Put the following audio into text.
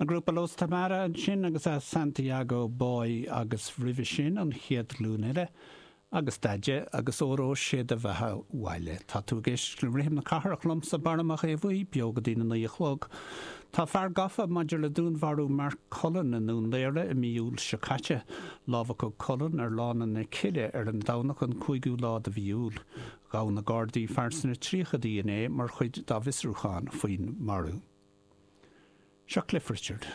An grúpa Los Tamara ansin agus a Santiago Boy agus roimhe sin an Chéad Ghlúin Eile agus Deaide agus Óró Sé Do Bheatha 'Bhaile. Tá tú ag éisteacht le Rithim na Cathrach liomsa, Barra Mac Aodha Bhuí, beo go dtí na 9 a chlog. Tá fear gafa maidir le dúnmharú Mark Cullen i nDún Laoghaire i mí Iúil seo caite. Lámhachadh Cullen ar Lána na Cille ar an Domhnach an 5ú lá de mhí Iúil. Ghabh na Gardaí fear sna tríochaidí inné mar chuid dá bhfiosrúchán faoin marú. Seo Cliff Richard.